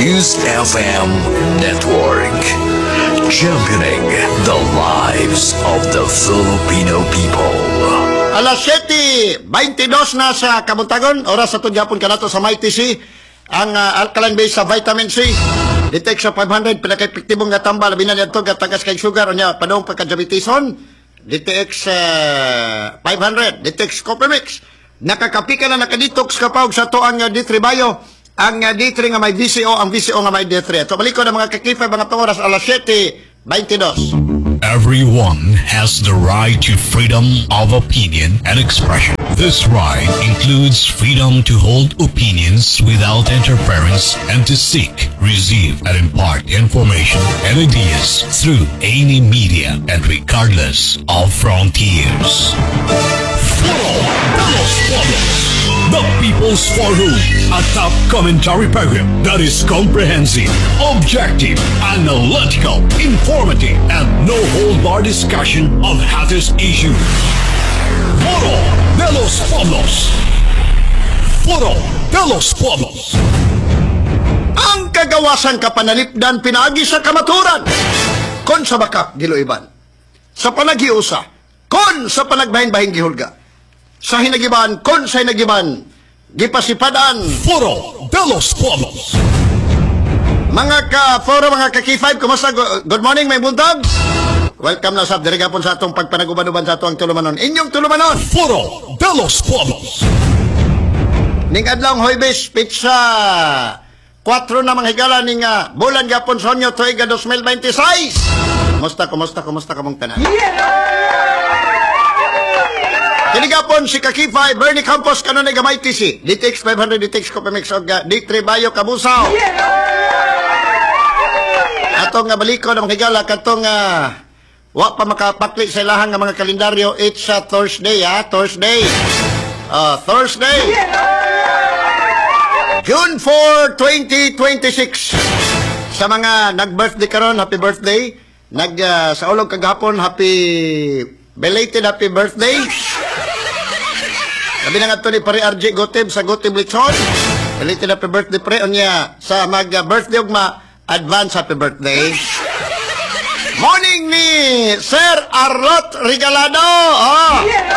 News FM Network, championing the lives of the Filipino people. Alas 7:22 na sa kabuntagon, oras sa Tudyapon kanato sa Mighty C, ang alkaline base sa vitamin C. Detect sa 500, pinaka-epektibong nga tambal, labi na niya ito, tagas kay sugar, unya, padong pagka-diabetison, DTX 500, DTX Copper Mix. Nakakapi ka na, nakadetox ka pa, og sa to ang D3 Bio, ang D3 nga may VCO, ang VCO nga may D3. So, balik ko na mga kakifay, mga oras, alas 7:22. Everyone has the right to freedom of opinion and expression. This right includes freedom to hold opinions without interference and to seek, receive, and impart information and ideas through any media and regardless of frontiers. Foro de los Pueblos, the People's Forum, a top commentary program that is comprehensive, objective, analytical, informative, and no hold bar discussion of hottest issues. Foro de los Pueblos. Foro de los Pueblos. Ang kagawasan kapanalipdan pinaagi sa kamaturan. Kon sa bakak giluiban. Sa panaghiusa, kon sa panagbahin-bahin gihulga. Sa hinagiban, kon sa hinagiban, gipasipadan. Foro de los Pueblos. Mga ka-foro, mga ka-K5, kumusta? Good morning, may buntag. Welcome na sa diri gapon sa atong pagpanaguban-uban sa atong tulumanon. Inyong tulumanon. Foro de los Pueblos. Ning adlaw Huwebes, petsa 4 na mga higala ning bulan gapon sa Hunyo tuiga 2026. Kumusta, kumusta, kumusta kamong tanan? Kini gapon si Kakifay, Bernie Campos, kanunay gamay TC, DTX 500, DTX Copemix, og D3 Bayo Kabusaw. Atong nga baliko na mga higala, katong wa pa makapakli sa ilahang nga mga kalendaryo, it's a Thursday, ha? Thursday. Thursday. June 4, 2026. Sa mga nag-birthday karon, happy birthday. Nag sa ulog kagahapon, happy belated happy birthday. Labi na nga to ni Pare RJ Gotib sa Gotib Lechon. Belated happy birthday, pre. Unya sa mag-birthday ugma, advance happy birthday. Morning ni Sir Arlot Regalado. Oh. Yeah!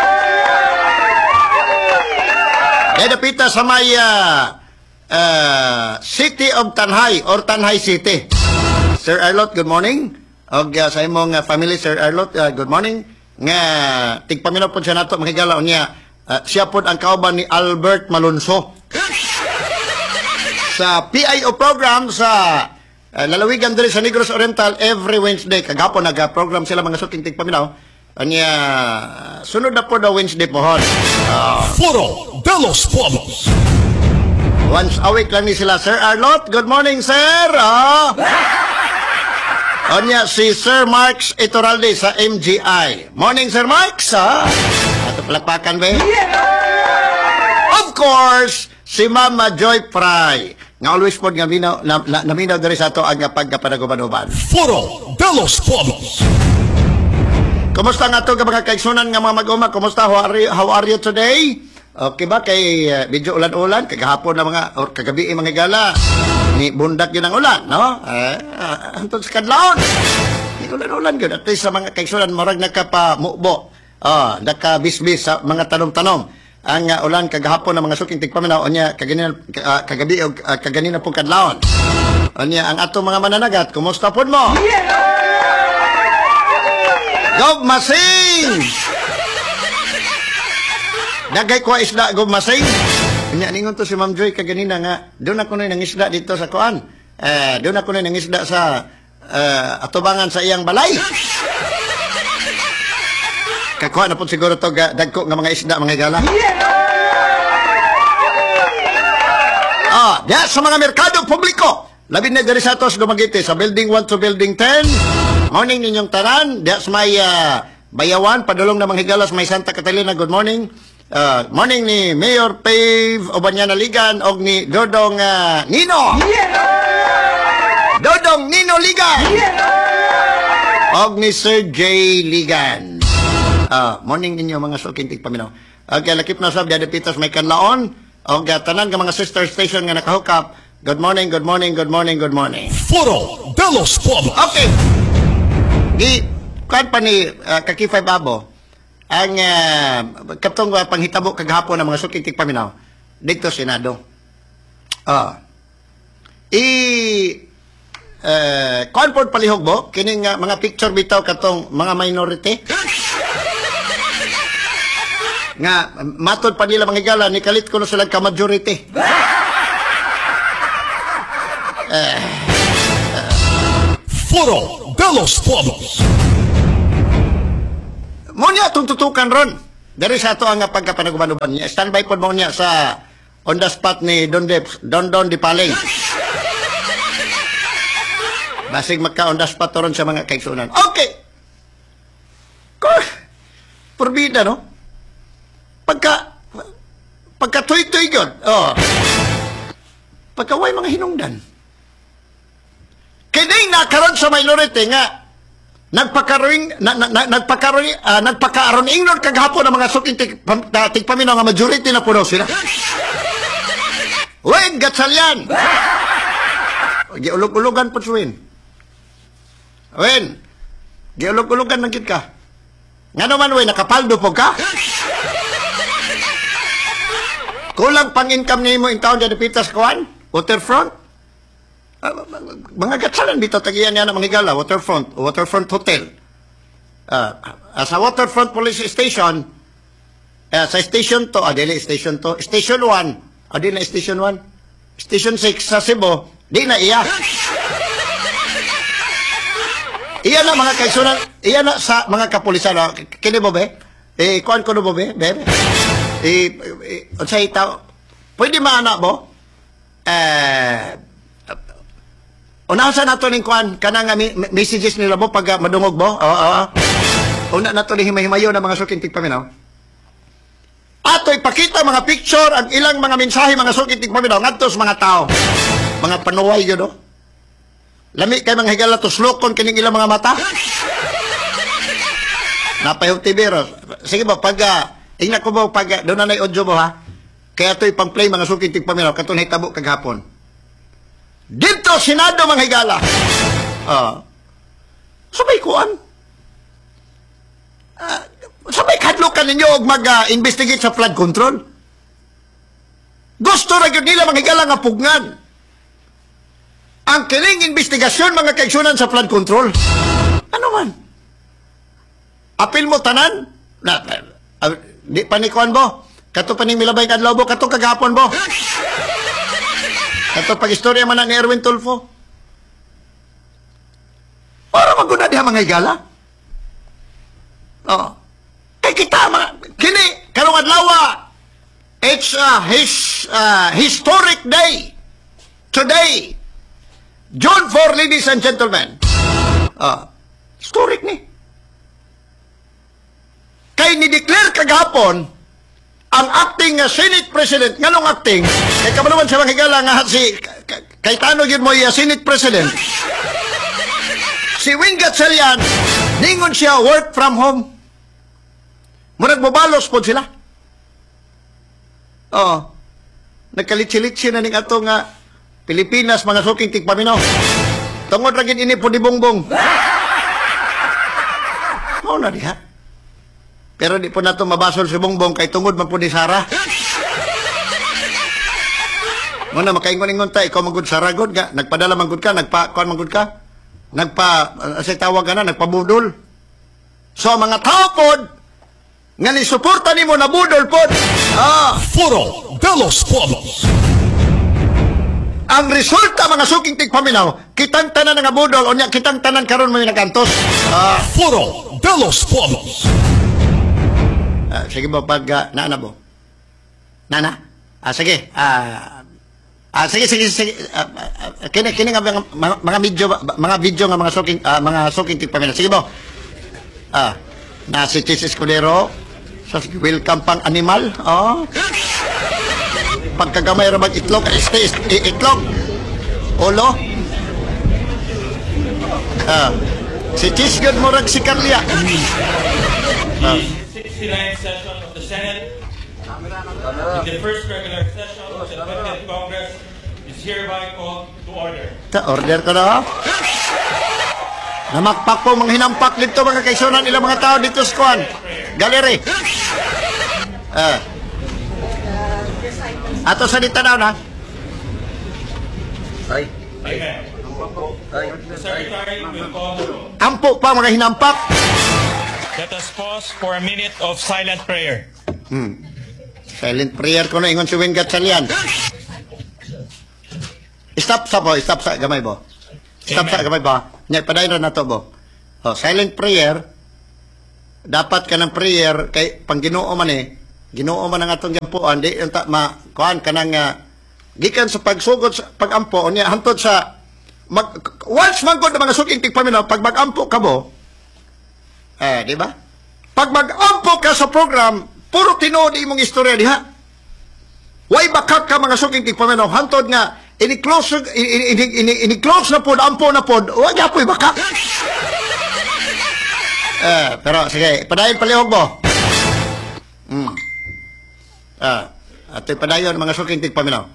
Dapita sa may City of Tanjay or Tanjay City. Sir Arlot, good morning. Og sa imong family, Sir Arlot, good morning. Nga tigpaminaw po siya nato mga higala unya. Siya pod ang kauban ni Albert Malonzo sa PIO program sa lalawigan diri sa Negros Oriental every Wednesday. Kagahapon nag-program sila, mga suking tigpaminaw. Anya sunod na po na Wednesday pohon. Foro de los Pueblos. Once a week lang ni sila. Sir Arlot, good morning, sir. Ah. Onya, si Sir Marx Ituralde sa MGI. Morning, Sir Marx. Ah. Ato palakpakan ba? Of course, si Mama Joy Fry. Nga always po nga minaw, na, na, naminaw diri sa ato ang pagkapanaguban-uban. Foro de los Pueblos. Kumusta nga to mga kaigsunan nga mga mag-uma? Kumusta? How are you today? Okay ba kay medyo ulan-ulan kagahapon na mga or kagabi eh, mga gala ni bundak yun ang ulan, no? Antod sa kadlawon. Ni ulan-ulan gyud at least sa mga kaigsunan murag nakapamubo. Ah, nakabisbis sa mga tanom-tanom. Ang ulan kagahapon ng mga suking tigpaminaw unya kaganina kagabi og kaganina pong kadlawon. Unya ang atong mga mananagat, kumusta pod mo? Gob Masing! Dagay ko isda, Gob Masing. Unya ningon to si Ma'am Joy kaganina nga doon ako na nangisda dito sa kuan. Eh, doon ako na nangisda sa atubangan sa iyang balay. Kakuha na po siguro to dagko nga mga isda, mga gala. Ah, diya sa mga merkado publiko. Labi na diri sa atos Dumaguete sa Building 1 to Building 10. Morning ninyong tanan. Diya sa may Bayawan, padulong na mga higala sa may Santa Catalina. Good morning. Morning ni Mayor Pave Obanyana Ligan og ni Dodong Nino. Dodong Nino Ligan. Og ni Sir J. Ligan. Morning ninyo mga suking tigpaminaw. Okay, lakip na sab diya pitas may kanlaon og tanan nga mga sister station nga nakahukap. Good morning, good morning, good morning, good morning. Foro de los Pueblos. Okay. Gi kuan pa ni Kaki 5 Abo ang katong panghitabo kagahapon ng mga suking tigpaminaw dito Senado. Ah. I kuan pod palihog bo kining mga picture bitaw katong mga minority nga matod pa nila, mga higala, ni kalit kuno sila ka majority. Foro de los Pueblos. Mo niya atong tutukan ron. Dari sa ato ang pagkapanaguban-uban niya. Standby pod mo niya sa on the spot ni Don Dep, Don Don Di Paling. Basig magka on the spot ron sa mga kaigsunan. Okay. Ko Purbida, no? Pagka pagka tuy-tuy gyud. Oh. Pagka way mga hinungdan. Kining nakaron sa minority nga nagpakaroon na, na, na, nagpakaroon nagpakaaron ingnon kagahapon ang mga suking tigpaminaw nga majority na puno sila. Win Gatchalian. Giulog-ulogan po si Win. Win. Giulog-ulogan lang gid ka. Nga naman, Win, nakapaldo po ka? Kulang pang income nimo in town dyan pitas kuan? Waterfront? Mga Gatchalian dito tagiyan niya na mga higala, Waterfront, Waterfront Hotel. Sa Waterfront Police Station, sa station to, dili station to, station 1, di na station 1, station 6 sa Cebu, di na iya. Iya na mga kaisunan, iya na sa mga kapulisan. Oh. Kini mo be? Eh, kuan ko no mo be? Be? Eh, eh, unsay tao? Pwede maana mo? Eh, unahan sa nato ning kuan kanang nga messages nila mo pag madungog mo. Oo. Una nato ni himay-himayo na mga suking tigpaminaw. Ato ipakita mga picture ang ilang mga mensahe, mga suking tigpaminaw, ngadto sa mga tao. Mga panuway yun, no? Lami kay mga higala tuslokon kining ilang mga mata. Napayong TV ro. Sige ba pag ingna ko ba pag doon na audio mo ha. Kaya ito ipang-play, mga suking tigpaminaw, katong hitabo kagahapon. Dito Senado, mga higala. Ah. Sabay kuan. Sabay kadlokan ninyo og mag-investigate sa flood control. Gusto ra gyud nila, mga higala, nga pugnan ang kining investigasyon, mga kaigsunan, sa flood control. Ano man? Apil mo tanan? Na, di pa ni kuan bo. Kato pa ning milabay kadlaw bo, kato kagahapon bo. Kato pag-istorya man na ni Erwin Tulfo. Para maguna diha, mga higala. Oo. Kay kita mga kini karong adlaw, it's his historic day. Today, June 4, ladies and gentlemen. Historic ni. Kay ni-declare kagahapon ang acting Senate President, nganong acting? Kay kabalo man sa mga higala nga si Cayetano gyud mo Senate President. Si Win Gatchalian, ningon siya work from home. Murag mobalos pod sila. Oo. Nagkalitsi-litsi na ning ato nga Pilipinas, mga suking tigpaminaw. Tungod ra gid ini po ni Bongbong. Mao na diha. Pero di po nato mabasol si Bongbong kay tungod man po ni Sara. Muna makaingon-ingon ta, ikaw man gud Sara gud nga nagpadala man gud ka, nagpa kuan man gud ka. Nagpa sa tawag ka na nagpabudol. So ang mga tao pod nga ni suporta nimo nabudol pod. Ah. Foro de los Pueblos. Ang resulta, mga suking tigpaminaw, kitang tanan nga budol unya kitang tanan karon mo nagantos. Ah. Foro de los Pueblos. Ah, sige ba pag nana bo? Nana? Ah, sige. Ah, sige sige sige. Kini kini nga mga video mga video nga mga suking tigpaminaw. Sige bo. Na si Chiz Escudero sa welcome pang animal. Oh. Pagkagamay ra mag itlog, este, itlog. Ulo. Si Chiz gud murag si Carlia. The 69th session of the Senate, in the first regular session of the 20th Congress, is hereby called to order. Ta order ko na. Namakpak po mga hinampak dito, mga kaigsuonan, ilang mga tao dito sa kuan. Gallery. Eh. Ato sa ditanaw na. Ay. Amen. The Secretary will call the roll. Ampo pa mga hinampak. Let us pause for a minute of silent prayer. Silent prayer ko na ingon si Win Gatchalian. Stop sa bo, stop sa gamay bo. Stop sa Amen. gamay ba. Nya padayon ra nato bo. Oh, silent prayer, dapat ka ng prayer kay pang Ginoo man eh. Ginoo man ang atong gampuan, di unta ma kuan kanang gikan sa pagsugod sa pagampo unya hantod sa mag once man gud mga suking tigpaminaw, pag magampo ka bo eh, di ba? Pag magampo ka sa program, puro tinuod imong istorya diha. Way bakak ka, mga suking tigpaminaw, hantod nga ini-close ini, ini, ini, ini-close na pod, ampo na pod, wa gyapoy bakak. Eh, pero sige, padayon palihog mo. Ah, ato'y padayon, mga suking tigpaminaw.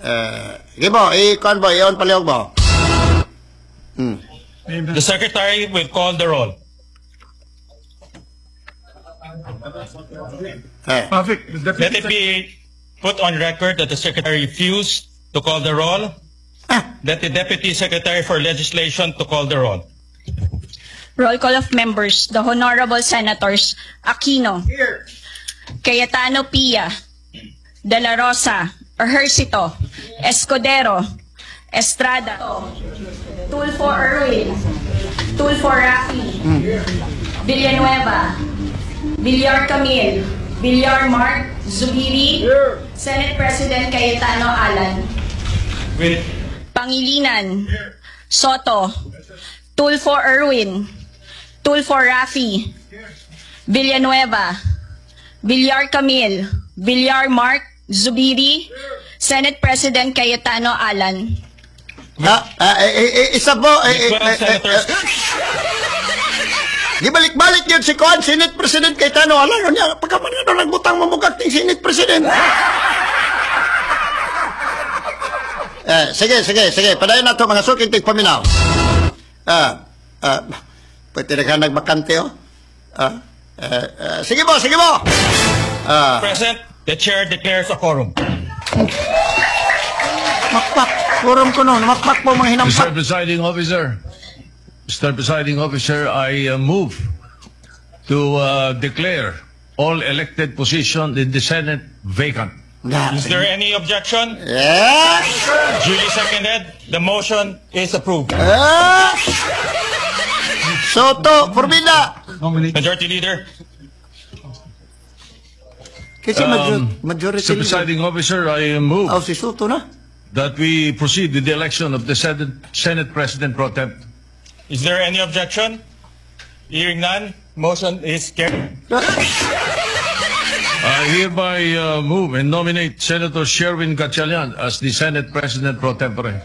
Eh, sige mo, i-kuan mo, i-on palihog mo. The Secretary will call the roll. Eh, Perfect. The Let Deputy it be put on record that the Secretary refused to call the roll. Ah. Let the Deputy Secretary for Legislation to call the roll. Roll call of members, the Honorable Senators Aquino, Here. Cayetano Pia, De La Rosa, Ejercito, Escudero, Estrada, Tulfo Erwin, Tulfo Rafi, Villanueva, Villar Camille, Villar Mark, Zubiri, Senate President Cayetano Alan, With Pangilinan, Sotto, Tulfo Erwin, Tulfo Rafi, Villanueva, Villar Camille, Villar Mark, Zubiri, Senate President Cayetano Alan. Ah, ah, eh, eh, eh, isa po, eh, eh, 12 eh, eh, senators. eh, gibalik-balik yun si Kuan, Senate President Cayetano. Alam niya, pagka man nga nagbutang mamugak ting Senate President. Eh, sige, sige, sige. Padayon na to, mga suking tigpaminaw. Ah, ah, pwede na ka nagbakante, oh. Ah, eh, eh, sige mo, sige mo. Ah, Present, the Chair declares a quorum. Makpak. Quorum ko no, makpak po mga hinampak. Mr. Presiding Officer, Mr. Presiding Officer, I move to declare all elected positions in the Senate vacant. Na, Is there any objection? Yeah. Duly seconded. The motion is approved. Ah! Sotto, Formida. Nominate. Majority Leader. Kasi majority Mr. leader. Presiding Officer, I move Oh, si Sotto na. That we proceed with the election of the Senate President Pro Tem. Is there any objection? Hearing none, motion is carried. I hereby move and nominate Senator Sherwin Gatchalian as the Senate President Pro Tempore.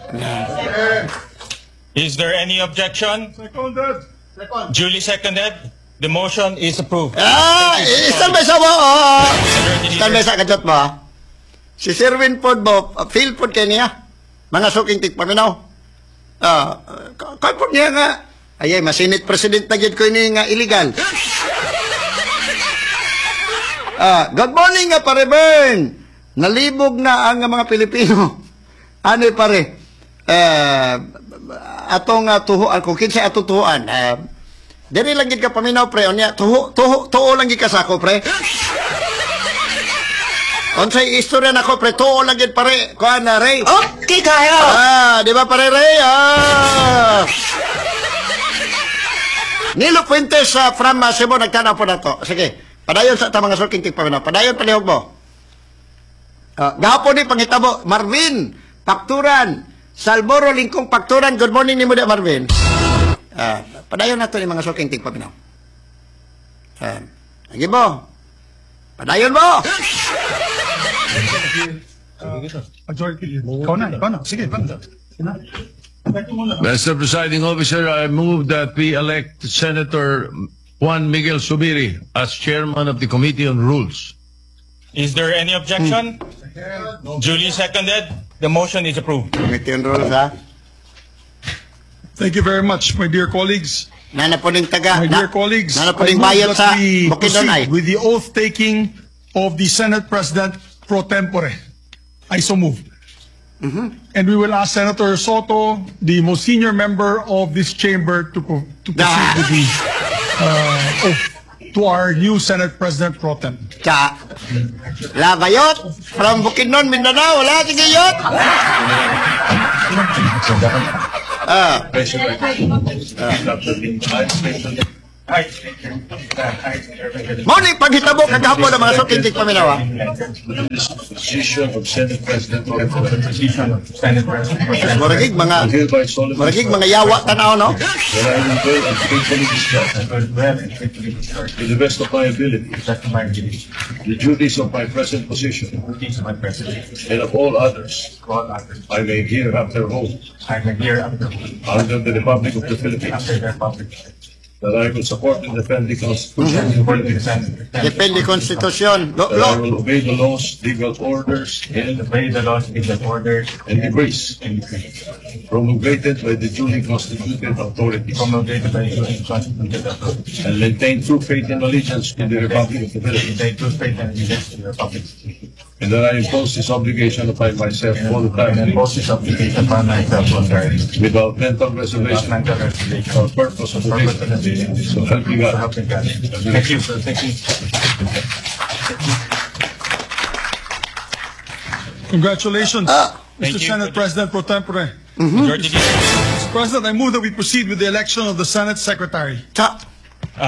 Is there any objection? Seconded. Duly seconded. The motion is approved. Ah, stand by sa mo. Oh. Majority Stand by Leader. sa kajot mo. Ah. Si Sherwin pod mo, feel pod kay niya. Mga suking tigpaminaw. Ah, kay pod niya nga. Ayay, ma-Senate President na gyud ko ini nga illegal. Ah, good morning nga pare Bern. Nalibog na ang mga Pilipino. Ano pare? Eh, atong tuhuan kung kinsa atong tuhuan. Eh, diri lang gid ka paminaw pre unya tuho tuho tuo lang gid ka sako pre. Unsay istorya nako pre, tuo lang gid pare. Kuan na Ray. Okay kayo. Ah, di ba pare Ray? Ah. Nilo Fuentes from Cebu nagtanaw po na to. Sige. Padayon sa ta mga suking tigpaminaw. Padayon palihog mo. Ah, gahapon ni panghitabo Marvin Pakturan Salboro Lingkong Pakturan. Good morning nimo da Marvin. Ah, padayon nato ni mga suking tigpaminaw. Ah, sige mo. Padayon mo. Majority Leader. Ikaw na, ikaw na. Sige, ikaw na. Sige na. Mr. Presiding Officer, I move that we elect Senator Juan Miguel Zubiri as chairman of the Committee on Rules. Is there any objection? Duly seconded. The motion is approved. Committee on Rules, ha? Thank you very much, my dear colleagues. Nana po ning taga. My dear colleagues, Nana po I ning move bayot that sa we Bukidnon ay. proceed with the oath-taking of the Senate President pro tempore. I so move. And we will ask Senator Sotto, the most senior member of this chamber, to proceed with the oath to our new Senate President pro tem. Cha. Labayot from Bukidnon, Mindanao. Wala, sige yot. Ah, Mao ni paghitabo kagahapon ng mga suking tigpaminaw, ha? Position of Senate President pro tempore. Muragig mga I hereby solemnly muragig mga yawa tanaw, no? that I will well and faithfully discharge, to the best of my ability, the duties of my present position and of all others I may hereafter hold under the Republic of the Philippines, that I will support and defend the Constitution of the Philippines, Defend the Constitution. Lo, that I lo. will obey the laws, legal orders, and Obey the laws, legal orders, and decrees and decrees promulgated by the duly constituted authorities, promulgated by the duly constituted authorities, and maintain true faith and allegiance to the Republic of the Philippines, maintain true faith and allegiance to the Republic, and that I impose this obligation upon myself and voluntarily impose this obligation upon myself voluntarily, without mental without reservation mental reservation or purpose of purpose of evasion. evasion. So help me So God. help me God. Thank you, sir. Thank you. Congratulations, Mr. Thank you. Senate President pro tempore. Majority Leader. Mr. President, I move that we proceed with the election of the Senate Secretary. Cha.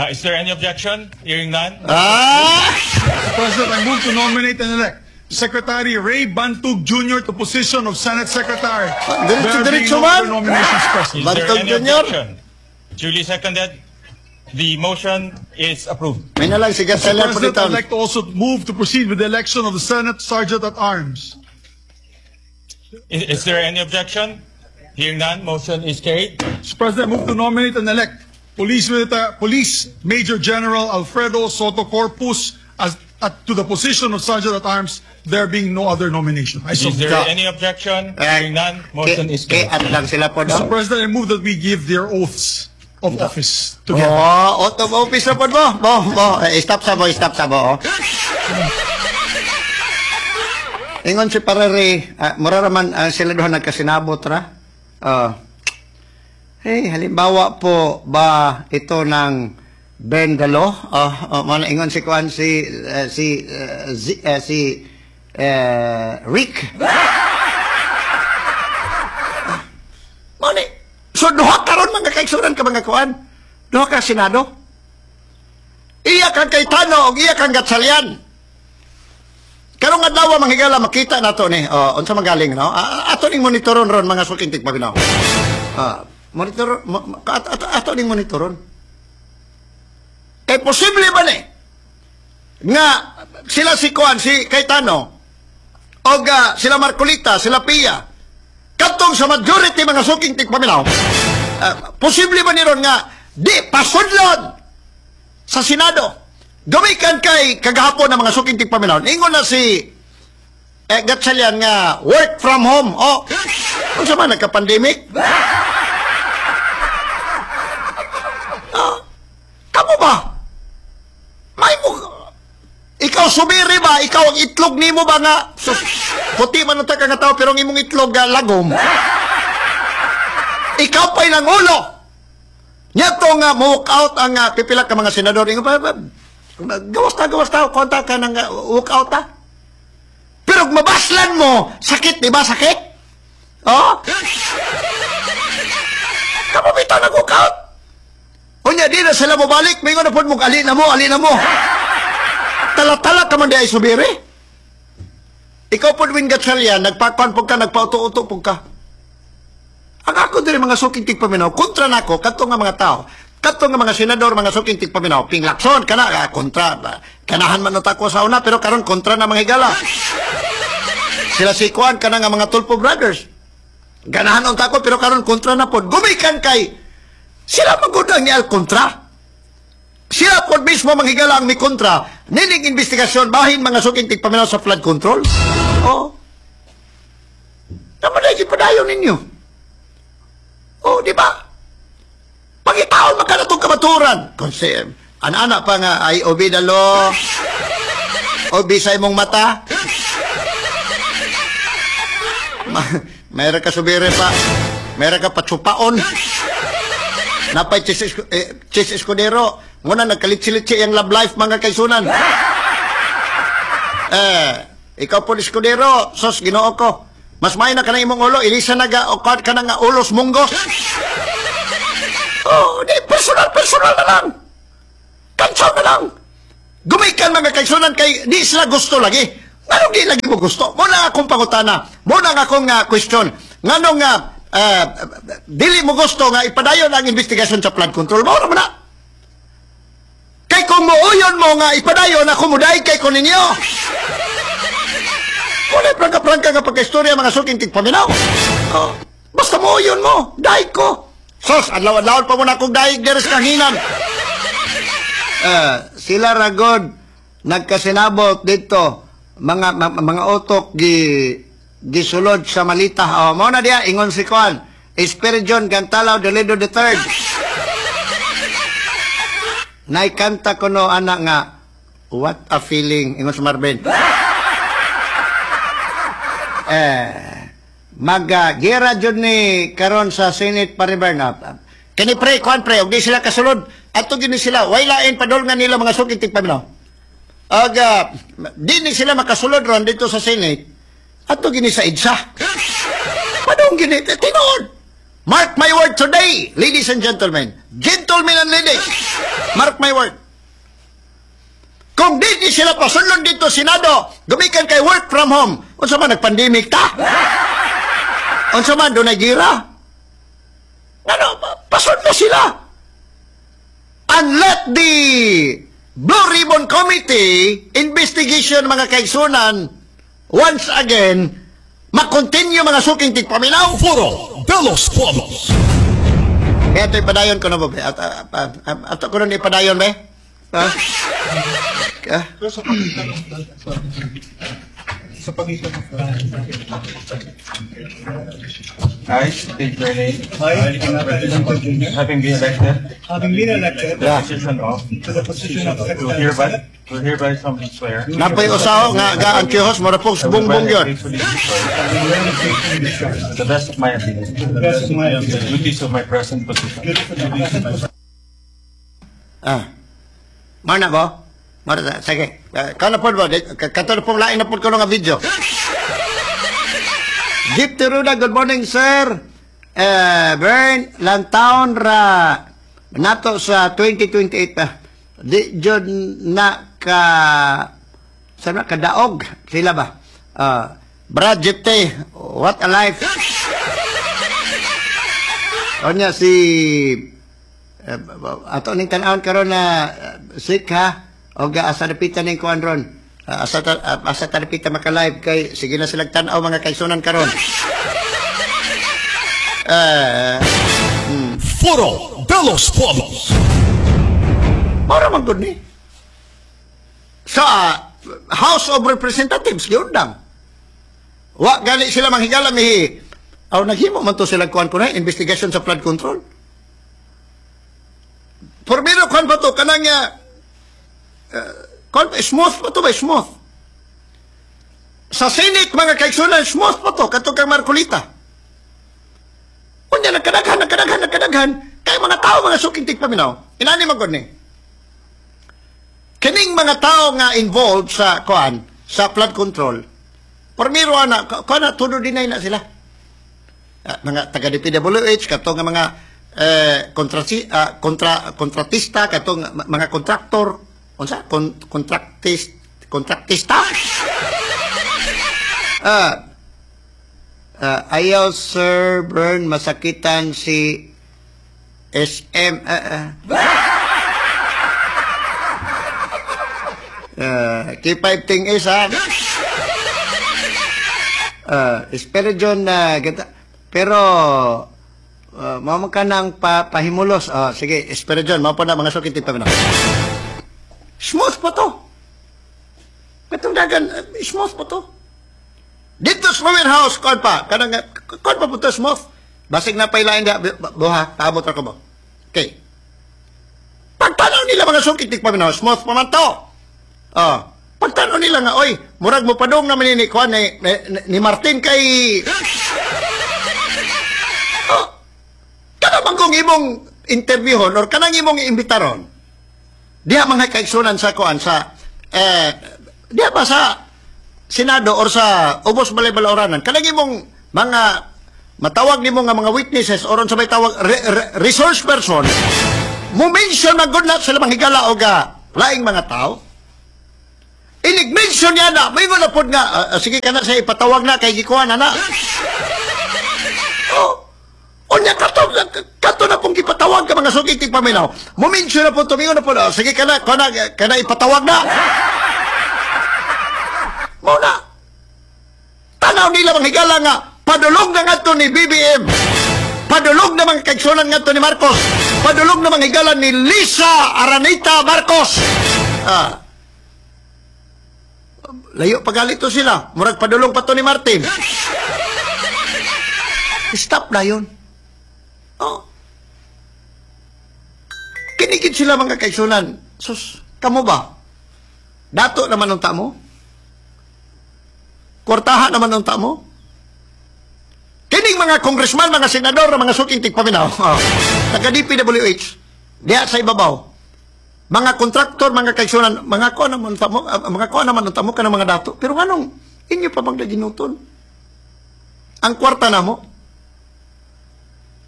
Is there any objection? Hearing none. Ah! Mr. President, I move to nominate and elect Secretary Ray Bantug Jr. to position of Senate Secretary. Diretso, There being diretso no man. other nominations present. Is there Bantog any Jr. objection? Duly seconded. The motion is approved. May na lang si Gatchalian po President, dito. I'd like to also move to proceed with the election of the Senate Sergeant at Arms. Is there any objection? Hearing none, motion is carried. Mr. President, I move to nominate and elect Police Major General Alfredo Sotto Corpus to the position of Sergeant at Arms, there being no other nomination. I so Is there Ka- any objection? Eh, Hearing none, motion is Kay carried. at lang sila po, Mr. no? President, I move that we give their oaths of office together. Oh, out of office na po mo. Mo, mo. Eh, stop sa mo, stop sa mo. Oh. Ingon si Parere, mura raman sila duha nagkasinabot ra. Ah. Hey, halimbawa po ba ito ng Bendalo? Oh, man ingon si kuan si eh, si eh, eh, si eh, Rick. Mao ni. So duha karon mga kaigsuran ka mga kuan. Duha ka Senado. Iya kang Cayetano og iya kang Gatchalian. Karong adlaw, mga higala, makita nato ni. Oh, unsa magaling, no? Ato ning monitoron ron, mga suking tigpaminaw. Ah, monitor ato ning monitoron. Kay posible ba ni nga sila si kuan si Cayetano og sila Marcolita, sila Pia, katong sa majority, mga suking tigpaminaw, posible ba ni ron nga di pasudlon sa Senado? Gumikan kay kagahapon ng mga suking tigpaminaw, ingon na si Gatchalian nga work from home. Oh, unsa man, nagka-pandemic? Ah, kamo ba? May mo ikaw sumiri ba? Ikaw ang itlog nimo ba nga sus, puti man unta ka nga tao pero ang imong itlog lagom. Ikaw pa'y nangulo. Nyato nga mo walk out ang pipila ka mga senador. Ingon pa, gawas ta, gawas ta, konta ka ng walk out ta. Pero kung mabaslan mo, sakit, di ba? Sakit? Oh? Kamo bitaw nag-walk out. Unya, di na sila mo balik. May na po mo, ali na mo, ali na mo. Tala-tala ka man di ay subiri. Ikaw po, Win Gatchalian, nagpakuan po ka, nagpauto-uto po ka. Ang ako diri, mga suking tigpaminaw, kontra nako kadto nga mga tao, kadto nga mga senador, mga suking tigpaminaw, Ping Lacson kana kontra, kanahan man na ko sa una pero karon kontra na, mga higala. Sila si Kuan kana nga mga Tulfo Brothers. Ganahan unta ko pero karon kontra na pod. Gumikan kay sila magud ang nial kontra. Sila pod mismo, mga higala, ang mi kontra nining investigasyon bahin, mga suking tigpaminaw, sa flood control. Oh. Naman na ipadayon ninyo. Oh, di ba? Pangitaon man ka na itong kamaturan. Kung si, ana-ana pa nga, ay obey the law. O bisay mong mata. Mayroon ka subire pa. Mayroon ka patsupaon. Napay Chis Escudero. Muna nagkalitsi-litsi yung love life, mga kaisunan. Eh, ikaw po Escudero, sos Ginoo ko. Mas may na ka na imong ulo, ilisa na ga o ka na nga ulos munggos. Oh, di personal personal na lang. Kantsaw na lang. Gumikan, mga kaisunan, kay di sila gusto lagi. Nganong di lagi mo gusto? Mo na akong pangutana. Mo na akong question. Nganong dili mo gusto nga ipadayon ang investigasyon sa flood control? Mao ra man na. Kay kung muuyon mo nga ipadayon ako, muday kay ko ninyo. Wala prangka-prangka nga pagkaistorya, mga suking tigpaminaw. Oh, basta muuyon mo, daig ko. Sos, adlaw-adlaw pa mo na akong daig diri sa kahanginan. Eh, sila ragod nagkasinabot dito mga utok gisulod sa malita. Oh, mao na diya ingon si Juan. Espiridion Gantalaw Dolido the Third. Naikanta ko no ana nga "What a feeling," ingon si Marvin. Eh, mag gira jud ni karon sa Senate pare Bernard. Kini pre, kuan pre, ug di sila kasulod. Ato gini sila, way lain padol nga nila, mga suking tigpaminaw. Aga, di ni sila makasulod ron dito sa Senate. Ato gini sa EDSA. Padong gini, tinuod. Mark my word today, ladies and gentlemen. Gentlemen and ladies, mark my word. Kung di ni sila pasulod dito Senado, gumikan kay work from home. Unsa man, nagpandemic ta? Unsa man, dunay gira? Ano, pasudlo sila. And let the Blue Ribbon Committee investigation, mga kaigsunan, once again, makontinue, mga suking tigpaminaw. Foro de los Pueblos. Kaya ito ipadayon ko na ba, be? At, ato ko na ipadayon, be? Ha? Ah? Sa pagitan ng I state your name, I, Jr. having been elected having been elected to the position of to the position of to Secretary of hereby Senate, to hereby solemnly swear Napoy usaho nga ga ang kihos mo pong I will bungbong well yun. and faithfully discharge I will faithfully discharge to the best of my ability to the best of my the ability duties of my present position. Ah. Mao na ba? Mao na, sige. Kano po ba? Kato na pong lain na po ko nga video. Jeep Tiruda, good morning, sir. Eh, Bern, lantaon ra nato sa 2028 pa. Di jud na ka sa na kadaog sila ba? Ah, Brad Jeep, what a life. Onya si ato ning tan-awon karon na sick ha og asa dapita ning kuan ron. Asa ta dapita maka-live kay sige na silang tan-aw, mga kaigsunan, karon. Eh, Foro de los Pueblos. Mao man gud ni. Sa House of Representatives giundang. Wa gali sila manghigala mihi. Aw naghimo man to sila kuan ko na investigation sa flood control. Pormiro kuan pa to kanang kuan smooth pa to ba, smooth. Sa Senate, mga kaigsunan, smooth pa to kadto kang Marcolita. Unya nagkadaghan, nagkadaghan, nagkadaghan kay mga tao, mga suking tigpaminaw. Inani man gud ni. Kining mga tao nga involved sa kuan sa flood control. Pormiro ana kuan na todo deny na sila. Ah, mga taga DPWH kato nga mga kontratista katong mga kontraktor unsa kontraktista. Ayaw, Sir Bern, masakitan si SM. K5 thing is ha. Espero na gata. Pero mao ka nang pahimulos. Sige, espero John, mao pa na mga sukit pa na. Smooth pa to. Katong dagan, smooth pa to. Dito sa lower house, kuan pa, kanang kuan pa puto smooth. Basig na pailain da buha, paabot ra ko mo. Okay. Pagtanaw nila, mga suking tigpaminaw, smooth pa man to. Oh. Pagtanaw nila nga, oy, murag mo padung naman ni kuan ni Martin kay. Oh. Kana man kung imong interviewon or kanang imong iimbitaron, diha mga kaigsunan sa kuan sa diha ba sa Senado or sa Ubos Balay Balauranan, kanang imong mga matawag nimo nga mga witnesses or unsa may tawag resource person, mo mention man gud na sila mga higala og laing mga tao. Inig mention niya na, may na pod nga, sige ka na sa ipatawag na kay gikuha na na. Oh. Unya kato kato na pong gipatawag ka, mga suking tigpaminaw. Mo mention na po, tumingon na po, oh, sige ka na, kana kana ipatawag na. Mao na. Tanaw nila, mga higala, nga padulong na ngadto ni BBM. Padulong na mga kaigsunan ngadto ni Marcos. Padulong na mga higala ni Lisa Aranita Marcos. Ah. Layo pagalito sila. Murag padulong pa to ni Martin. Stop na yun. Oh. Kinigid sila, mga kaigsunan. Sus, kamo ba? Dato naman ang tamo? Kwartahan naman ang tamo? Kining mga congressman, mga senador, mga suking tigpaminaw, oh, taga DPWH, diha sa ibabaw, mga kontraktor, mga kaigsunan, mga kuha naman tamo, mga kuha naman ang tamo ka ng mga dato. Pero anong inyo pa bang naginuton ang kwarta namo?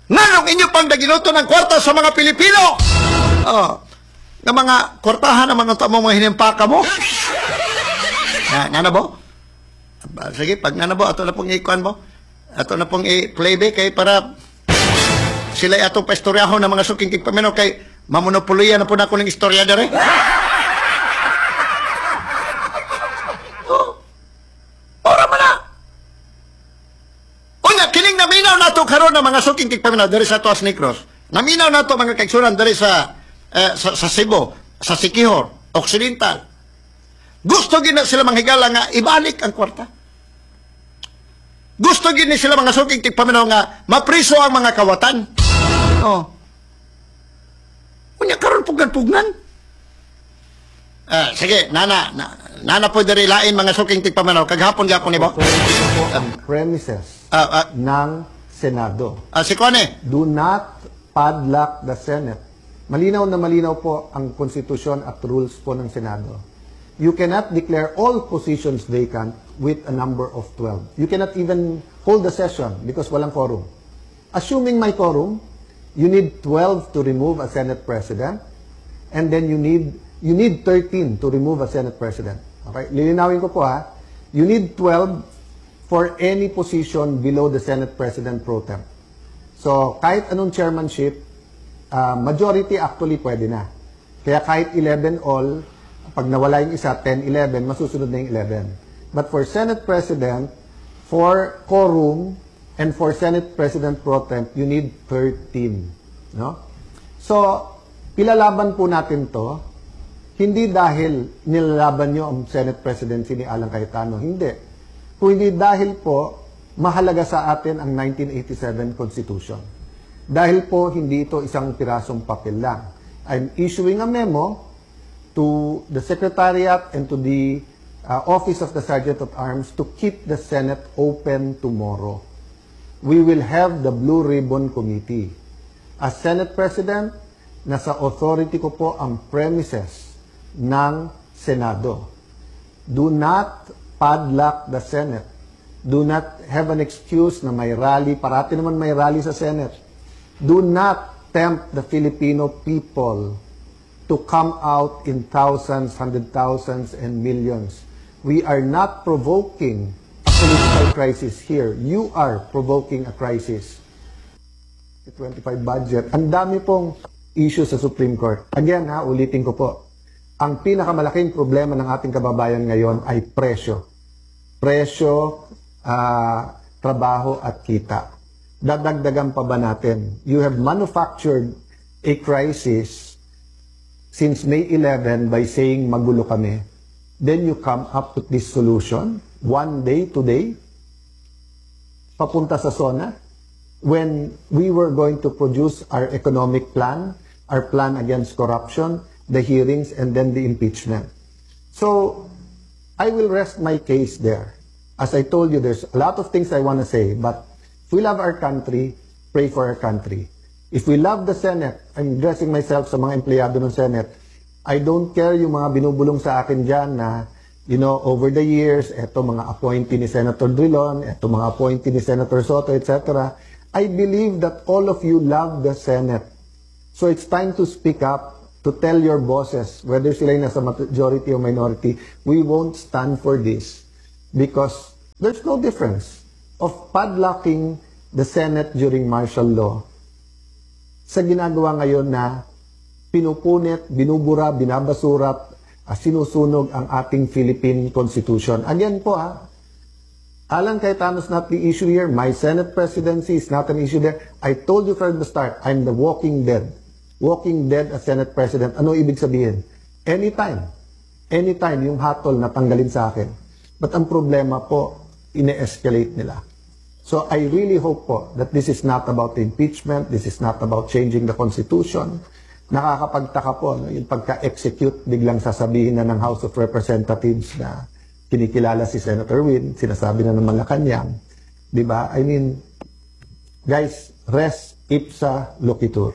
Nganong inyo pang daginuton ang kwarta sa mga Pilipino? Oh, nga mga kwartahan naman ang tamo, mga hinimpaka mo. Na, nga na bo? Sige, pag nga na bo, ato na pong ikuan mo. Ato na pong i-playback kay para sila atong paistoryahon ng mga suking tigpaminaw kay mamonopoliya na po na ako ng istorya dere. Oh. Ora man na. Unya, kining naminaw nato karon ng mga suking tigpaminaw diri sa Tuas Negros. Naminaw nato, mga kaigsunan, diri sa Cebu, sa Siquijor, Occidental. Gusto gid na sila manghigala nga ibalik ang kwarta. Gusto gid ni sila, mga suking tigpaminaw, nga mapriso ang mga kawatan. Oh. Unya karon pugnan-pugnan. Ah, sige, nana, na, nana po diri lain, mga suking tigpaminaw. Kaghapon gyapon ni bo. Authority ko po ang premises ng Senado. Si Kone. Do not padlock the Senate. Malinaw na malinaw po ang konstitusyon at rules po ng Senado. You cannot declare all positions vacant with a number of 12. You cannot even hold a session because walang quorum. Assuming may quorum, you need 12 to remove a Senate President and then you need 13 to remove a Senate President. Okay? Lilinawin ko po ha. You need 12 for any position below the Senate President pro tem. So, kahit anong chairmanship, majority actually pwede na. Kaya kahit 11 all, pag nawala yung isa, 10, 11, masusunod na yung 11. But for Senate President, for quorum, and for Senate President pro temp, you need 13. No? So, ilalaban po natin to, hindi dahil nilalaban nyo ang Senate Presidency ni Alan Cayetano, hindi. Kung hindi dahil po, mahalaga sa atin ang 1987 Constitution. Dahil po, hindi ito isang pirasong papel lang. I'm issuing a memo to the Secretariat and to the Office of the Sergeant at Arms to keep the Senate open tomorrow. We will have the Blue Ribbon Committee. As Senate President, nasa authority ko po ang premises ng Senado. Do not padlock the Senate. Do not have an excuse na may rally. Parati naman may rally sa Senate. Do not tempt the Filipino people to come out in thousands, hundred thousands, and millions. We are not provoking a political crisis here. You are provoking a crisis. 25 budget. Ang dami pong issue sa Supreme Court. Again, ha, ulitin ko po. Ang pinakamalaking problema ng ating kababayan ngayon ay presyo. Presyo, trabaho at kita. Dadagdagan pa ba natin? You have manufactured a crisis since May 11 by saying magulo kami. Then you come up with this solution one day today. Papunta sa SONA when we were going to produce our economic plan, our plan against corruption, the hearings, and then the impeachment. So, I will rest my case there. As I told you, there's a lot of things I want to say, but if we love our country, pray for our country. If we love the Senate, I'm addressing myself sa mga empleyado ng Senate, I don't care yung mga binubulong sa akin dyan na, over the years, eto mga appointee ni Senator Drilon, eto mga appointee ni Senator Sotto, etc. I believe that all of you love the Senate. So it's time to speak up, to tell your bosses, whether sila yung nasa majority or minority, we won't stand for this because there's no difference of padlocking the Senate during martial law sa ginagawa ngayon na pinupunit, binubura, binabasura, sinusunog ang ating Philippine Constitution. Again po ha, Alan Cayetano is not the issue here. My Senate presidency is not an issue there. I told you from the start, I'm the walking dead. Walking dead as Senate President. Ano ibig sabihin? Anytime. Anytime yung hatol na tanggalin sa akin. But ang problema po, ine-escalate nila. So I really hope po that this is not about the impeachment, this is not about changing the Constitution. Nakakapagtaka po, no, yung pagka-execute, biglang sasabihin na ng House of Representatives na kinikilala si Senator Win, sinasabi na ng Malacanang. Di ba? I mean, guys, res ipsa loquitur.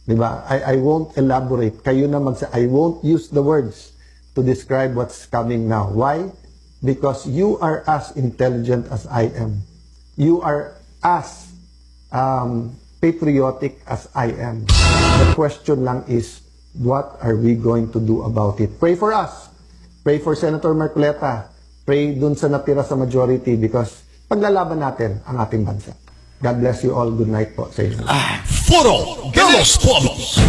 Di ba? I won't elaborate. Kayo na mag I won't use the words to describe what's coming now. Why? Because you are as intelligent as I am. You are as patriotic as I am. The question lang is, what are we going to do about it? Pray for us. Pray for Senator Marcoleta. Pray dun sa natira sa majority because paglalaban natin ang ating bansa. God bless you all. Good night po sa inyo. Foro de los Pueblos.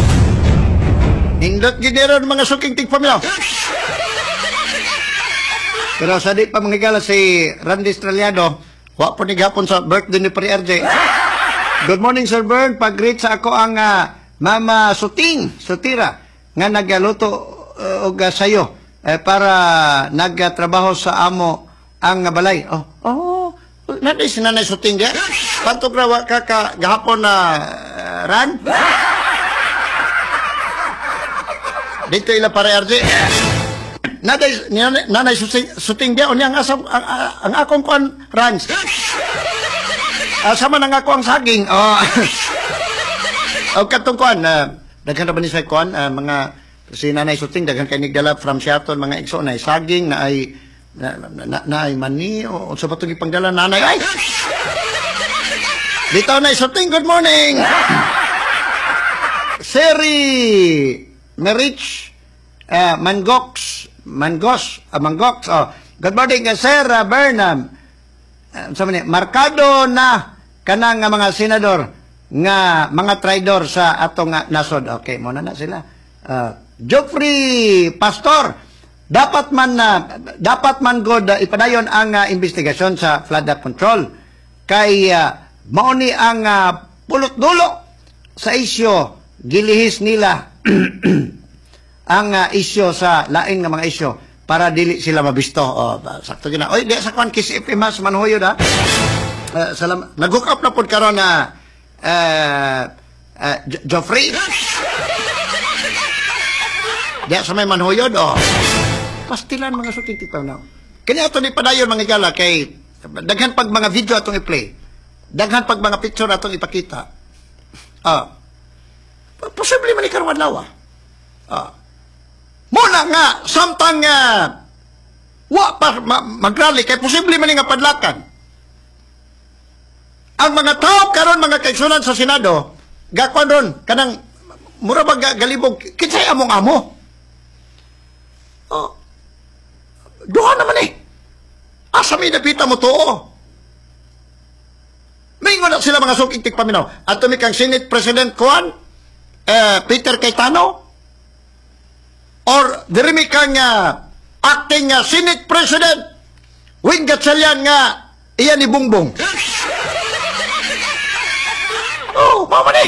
Nindot gid ron, mga suking tigpaminaw. Pero sa di pa mga higala, si Randy Estrellado, wa po ni gahapon sa birthday ni Pre RJ. Good morning, Sir Bern. Pag-greet sa ako ang Mama Suting, Sutira, nga nagaluto og sayo para nagtrabaho sa amo ang balay. Oh, nanay si Nanay Suting di. Pantog ra wa ka gahapon na ran. Dito ila pare RJ. Nanay Suting dia unya ang asam ang akong kuan rans. Sama na nga ako ang saging. Oh. O katong kuan, daghan ra ba ni sa kuan, mga si Nanay Suting daghan kay nigdala from Seattle, mga igsoon, na saging na ay na ay mani o sa patong ipangdala nanay ay. Dito na Suting, good morning. Seri Merich Mangox Mangos Mangox, oh. Good morning, Sir Bernam. Sa man ni, markado na kanang nga mga senador nga mga traidor sa atong nasod. Okay, mo na sila. Geoffrey Pastor, dapat man god ipadayon ang investigasyon sa flood control kay mao ni ang pulot dulo sa isyo, gilihis nila ang isyo sa lain nga mga isyo para dili sila mabisto. Oh, sakto gyud na. Oy, di sa kwan Kiss FM ha, sa Manhuyod ha. Salam, nag-hook up na pod karon na Joffrey. Di sa may Manhuyod, oh. Pastilan, mga suking tigpaminaw. Kanya ato ni padayon, mga higala, kay daghan pag mga video atong i-play. Daghan pag mga picture atong ipakita. Posible man ni karon adlaw. Ah. Muna nga samtang wa pa magrally kay posible man ni nga padlakan. Ang mga tao karon, mga kaigsunan sa Senado, gakuan ron kanang mura ba galibog kinsay among amo. Oh. Duha naman eh. Asa may napita mo tuo? Mingon na sila, mga suking tigpaminaw. Ato mi kang Senate President kuan, Peter Cayetano, or diri mi kang acting Senate President Win Gatchalian nga iya ni Bongbong. Oh, mama ni.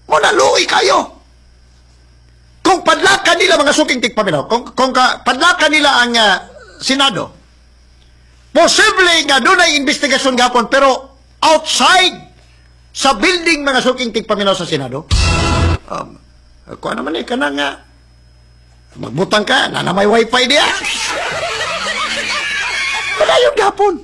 Muna luoy kayo. Kung padlakan nila, mga suking tigpaminaw, kung padlakan nila ang Senado, Posible nga dunay investigasyon gapon pero outside sa building, mga suking tigpaminaw sa Senado. Kuha naman eh, kana nga magbutang ka, na may wifi diya. Padayon gapon.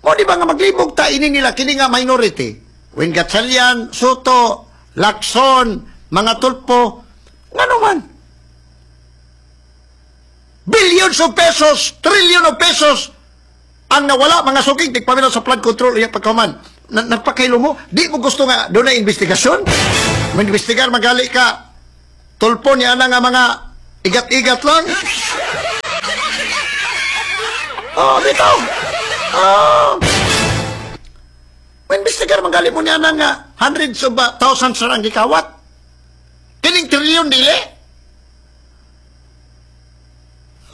O di ba nga maglibog ta ini nila kini nga minority? Win Gatchalian, Sotto, Lacson, mga Tulfo, ngano man? Billions of pesos, trillion of pesos ang nawala, mga suking tigpaminaw, sa flood control iya pagkaman. Nagpakailo mo, di mo gusto nga dunay investigasyon? Mag-investigar magali ka. Tulfo niya na nga mga igat-igat lang. Oh, bitaw. Oh. Investigar magali mo niya na nga hundreds of thousands na ang gikawat. Kining trillion dili.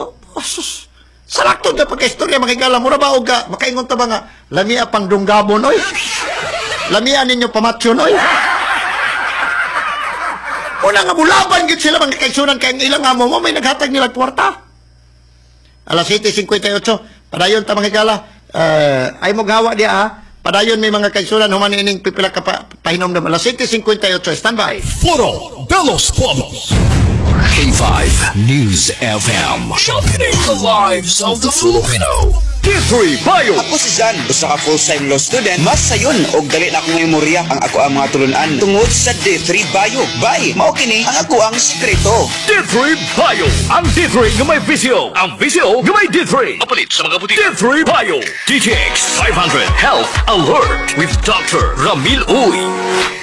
Oh, oh, sus. Sarakto na pagka-istorya, mga higala, mura ba og ka, makaingon ta ba nga, lamia pang dunggabon, oy. Lamia ninyo pamatsyon, oy. Una nga mulaban gid sila, mga kaigsunan, kay ang ilang amo mo may naghatag nila kwarta. Alas 7:58, padayon ta, mga higala. Ay mo gawa diya ha. Padayon may mga kaigsunan human ining pipila ka pa, pahinomdom. Alas 7:58, stand by. Foro de los Pueblos. K5 News FM. Championing the lives of the Filipino. D3 Bio. Ako si Jan, usa ka full-time law student. Mas sayon og dali na akong memorya ang ako ang mga tulunan tungod sa D3 Bio. Bay, mao kini ang ako ang sikreto. D3 Bio. Ang D3 nga may VCO. Ang VCO nga may D3. Apalit sa mga butika. D3 Bio. DTX 500 Health Alert with Dr. Ramil Uy.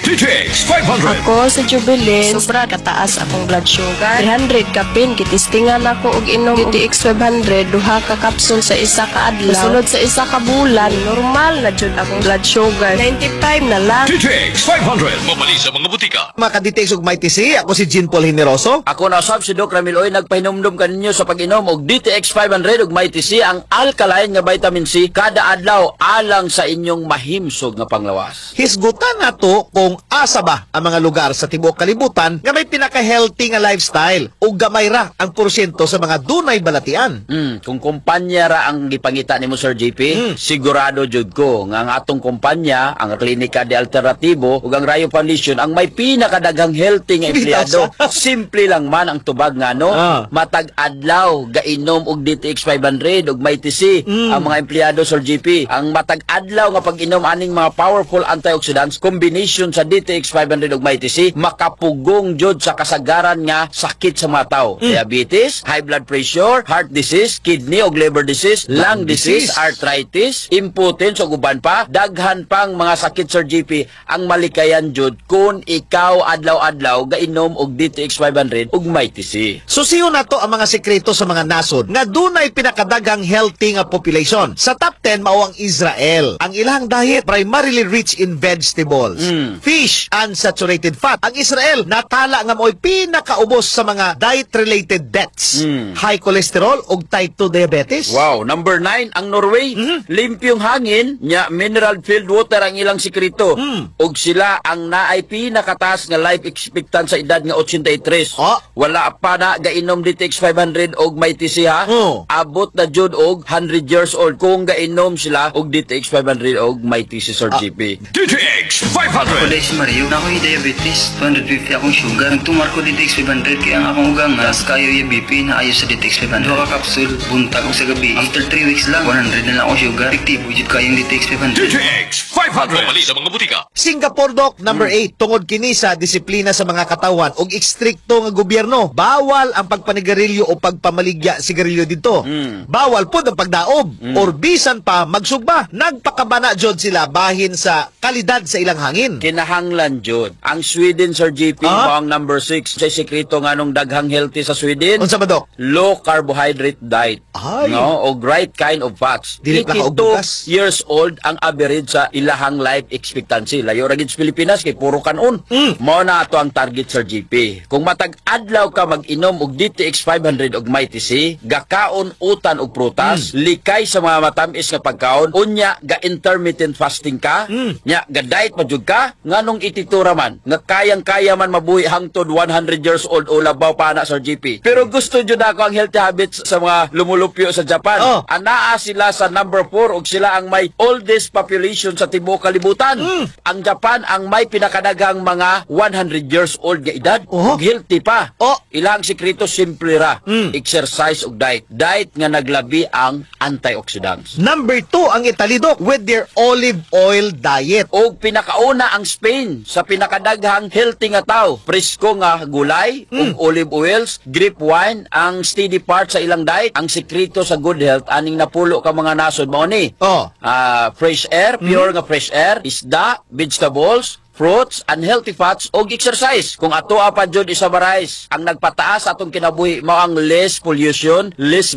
DTX 500. Ako sa Jubilin, sobra kataas akong blood sugar. 300 kapin, gitistingan ako og inom DTX 500, duha ka kapsul sa isa ka adlaw. Sulod sa isa ka bulan, normal na jud akong blood sugar. 95 na lang. DTX 500. Mabali sa mga butika. Mga ka-DTX ug Mighty C, ako si Jean Paul Generoso. Ako na usab si Doc Ramil Oy, nagpahinumdum kaninyo sa pag-inom og DTX 500 ug Mighty C, ang alkaline nga vitamin C, kada adlaw alang sa inyong mahimsog nga panglawas. Hisgutan nato kung asa ba ang mga lugar sa tibuok kalibutan nga may pinaka-healthy nga lifestyle ug gamay ra ang porsyento sa mga dunay balatian. Kung kumpanya ra ang gipangita nimo, Sir JP, sigurado jud ko nga ang atong kumpanya, ang Klinika de Alternatibo ug ang Rayo Foundation ang may pinakadaghang healthy nga empleyado. Simple lang man ang tubag ngano, matag adlaw gainom og DTX 500 ug Mighty C ang mga empleyado, Sir JP. Ang matag adlaw nga pag-inom aning mga powerful antioxidants combination sa DTX 500 ug Mighty C makapugong jud sa kasagaran nga sakit sa mga tao. Diabetes, high blood pressure, heart disease, kidney ug liver disease, lung disease, arthritis, impotence ug uban pa, daghan pang mga sakit, Sir JP, ang malikayan jud kung ikaw adlaw-adlaw gainom og DTX 500 ug Mighty C. Susiyon nato ang mga sekreto sa mga nasod nga dunay pinakadaghang healthy nga population. Sa top 10 mao ang Israel. Ang ilang diet primarily rich in vegetables, fish, unsaturated fat. Ang Israel natala nga mao'y pinakaubos sa mga diet-related deaths, high cholesterol ug type 2 diabetes. Wow, number 9 ang Norway. Limpyong hangin, nya mineral filled water ang ilang sikreto. Ug sila ang naay pinakataas nga life expectancy sa edad nga 83. Wala pa na gainom DTX 500 og Mighty C ha. Abot na jud og 100 years old kung gainom sila og DTX 500 og Mighty C, Sir GP. DTX 500. Ako si Mario, na ako'y diabetes, 250 akong sugar. Nagtumar ko DTX 500 kaya ang akong ugang taas kayo yung BP na ayo sa DTX 500. Duha ka kapsul, buntag ug sa gabi. After 3 weeks lang, 100 na lang akong sugar. Epektibo jud kayong DTX 500. DTX 500. Mabali sa mga butika. Singapore, Doc, number 8, tungod kini sa disiplina sa mga katawan ug ekstrikto nga gobyerno. Bawal ang pagpanigarilyo o pagpamaligya sigarilyo didto. Bawal pod ang pagdaob or bisan pa magsugba. Nagpakabana jud sila bahin sa kalidad sa ilang hangin. Kinahanglan jud. Ang Sweden, Sir JP, mao ang number 6. Sa sekreto nganong daghang healthy sa Sweden? Unsa ba, Doc? Low carbohydrate diet. Ay. No, og right kind of fats. Dili pa ka og 82 bugas. years old ang average sa ilahang life expectancy. Layo ra gid sa Pilipinas kay puro kanon. Mao na ato ang target, Sir JP. Kung matag adlaw ka mag-inom og DTX 500 og Mighty C, gakaon utan og prutas, likay sa mga matamis nga pagkaon, unya ga intermittent fasting ka, nya ga diet pa jud ka, nganong ititura man nga kayang-kaya man mabuhi hangtod 100 years old o labaw pa na, Sir JP. Pero gusto jud ako ang healthy habits sa mga lumulupyo sa Japan. Ana Naa sila sa number 4 ug sila ang may oldest population sa tibuok kalibutan. Ang Japan ang may pinakadaghang mga 100 years old nga edad ug healthy pa. Ilang sikreto, simple ra. Exercise ug diet. Diet nga naglabi ang antioxidants. Number 2 ang Italy, Dok, with their olive oil diet. Og pinakauna ang Spain sa pinakadaghang healthy nga tao. Presko nga gulay ug olive oils, grape wine ang steady part sa ilang diet. Ang sekreto sa good health aning napulo ka mga nasod mao ni. Fresh air, pure nga fresh air, isda, vegetables, fruits, and healthy fats og exercise. Kung ato pa jud i-summarize, ang nagpataas sa atong kinabuhi mao ang less pollution, less